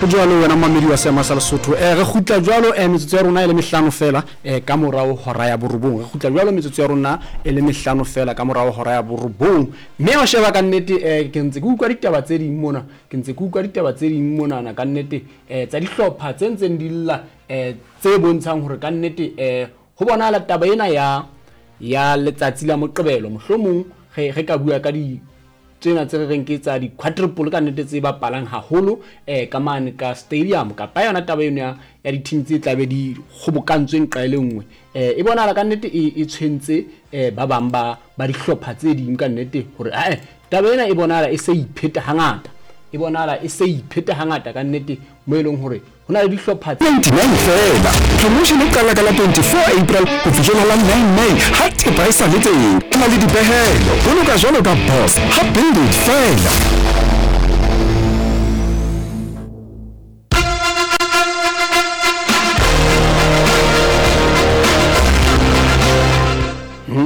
Ho jwalo wena momamedi wa seema sa Lesotho. Eh, re kgutla jwalo eh, metsotso ya rona e le mehlano fela eh, ka morao hora ya borobong. Re kgutla jwalo metsotso ya rona e le mehlano fela ka morao hora ya borobong. Mme wa sheba ka nnete eh, ke ntse ke utlwa ditaba tse ding mona, ke ntse ke utlwa ditaba tse ding monana ka nnete eh, tsa dihlopha tse ntseng di lla eh, tse bontshang hore ka nnete eh, ho bonahala taba ena ya ya letsatsi la Moqebelo mohlomong re re ka bua ka di tsena tse re reng ke tsa di-quadruple ka nnete tse bapalang haholo um ka mane ka stadium kapa yona taba eno ya ya di-team tse tlabe di kgobokantswe nqa e le nngwe um e bonahala ka nnete e, e tshwentse um ba bang ba ba dihlopha tse ding ka nnete hore ae taba ena e bonahala e se ipheta hangata e bonahala e se ipheta hangata ka nnete mo e leng hore Ho na le dihlopha tse. 29 feela. Promotion e qala ka la 24 April ho fihlela la 9 May ha thepa e sa le teng. E na le dipehelo. Boloka jwalo ka boss ha Build It feela.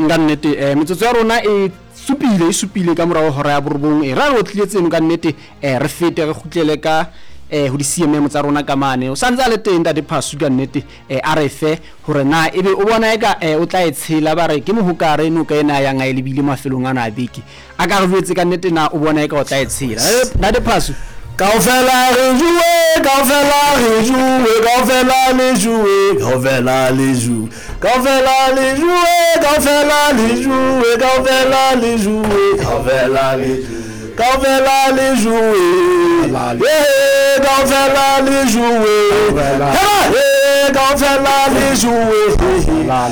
Ka nnete um metsotso ya rona e supile e supile ka morago hora ya borobong e ra re otlile tseno ka nnete um re fete re kgutlele ka um ho di-cmm tsa rona ka mane o santse a le teng ntate Phasu ka nnete um a re fe hore na ebe o bona eka um o tla e tshela ba re ke mohokare noka ena a yang a e lebile mafelong ana a beke a ka re jwetse ka nnete na o bona eka o tla e tshela. Ntate Phasu. Kaofela re juwe, kaofela re juwe, kaofela le juwe, kaofela le juwe, kaofela le juwe, kaofela le juwe, kaofela le juwe, kaofela le juwe, kaofela le juwe, eh, kaofela le juwe, eh, kaofela le juwe,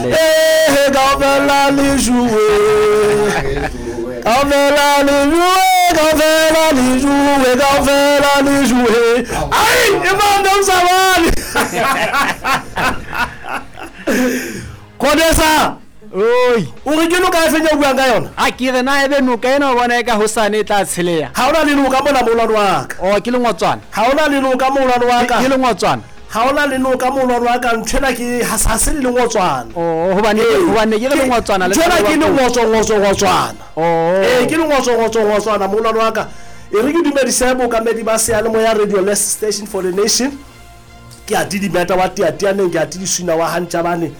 eh, kaofela le juwe, kaofela le juwe, kaofela le juwe, kaofela le juwe. Ai, imanda mzalwane. Kodesa. Oi. O re ke noka e feng ya buang ka yona? A ke re na ebe noka ena o bona eka hosane e tla tsheleha. Ha ona le noka mona moholwane wa ka. Oh, ke lengotswana. Ha ona le noka moholwane wa ka. Ke lengotswana. Ha ona le noka moholwane wa ka nthwena ke ha se le lengotswana. Oh, hobane hobane ke le lengotswana le. Nthwena ke lengotso ngotso ngotswana. Oh. Eh, ke lengotso ngotso ngotswana moholwane wa ka. E re ke dumedise bookamedi ba seyalemoya Radio Less Station for the Nation. Ke a didimeta wa Teatianeng, ke a tidiswina wa Hantjabane.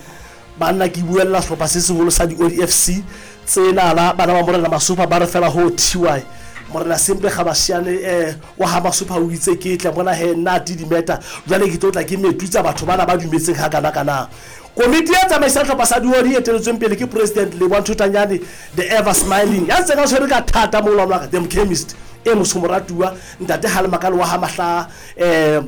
Banna ke buella sehlopha se seholo sa di-Odi FC tsenana bana ba Morena Masopha ba re fela ho TY Morena Sempe Gabashiane eh wa ha Masopha o itse ke tle mona he nna didimeta jwale ke tlo tla ke metutsa batho bana ba dumetseng ha kana kana. Komiti e tsamaisang hlopha sa diodi e eteletsweng pele ke President Leboang Thotanyane the ever smiling ya ntseng a tshwere ka thata moholwane wa ka the chemist e motsho moratuwa ntate Halemakale wa ha Mahla eh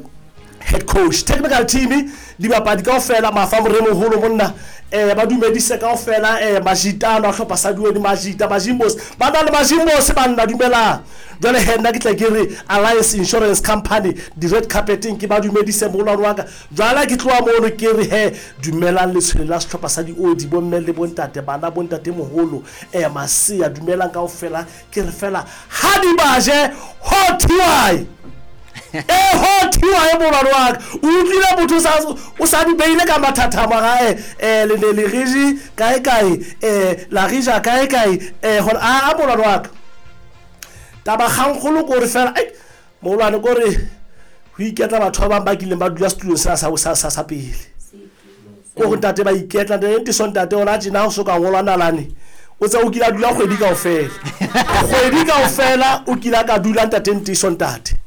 head coach technical team dibapadi kaofela mafa moremoholo monna eh ba dumedise kaofela eh majitano a hlopha sa duedi majita majimbos ba na le majimbos banna dumelang jwale he nna ke tla ke re Alliance Insurance Company di red carpeting ke ba dumedise moholwane wa ka jwale ke tloha mono ke re he dumelang letshwele la sehlopha sa diodi bomme le bontate bana bontate moholo eh masea dumelang kaofela Ke re fela ha di ba je ho thiwae. E ho thiwae molwane wa ka. O utlwile motho sa o sa di beile ka mathathamo ga e eh le ne le reji kae kae eh la reja kae kae eh hore a a molwane wa ka. Taba kgangkgolo ko re fela ai molwane ko re ho iketla batho ba bang ba kileng ba dula setulong sena sa sa sa sa pele. Ko go ntate ba iketla ntate ntiso ntate ona tjena ho so ka ngolwa nalane. O tsa o kile a dula kgwedi kaofela. Kgwedi kaofela o kile a ka dula ntate ntiso ntate.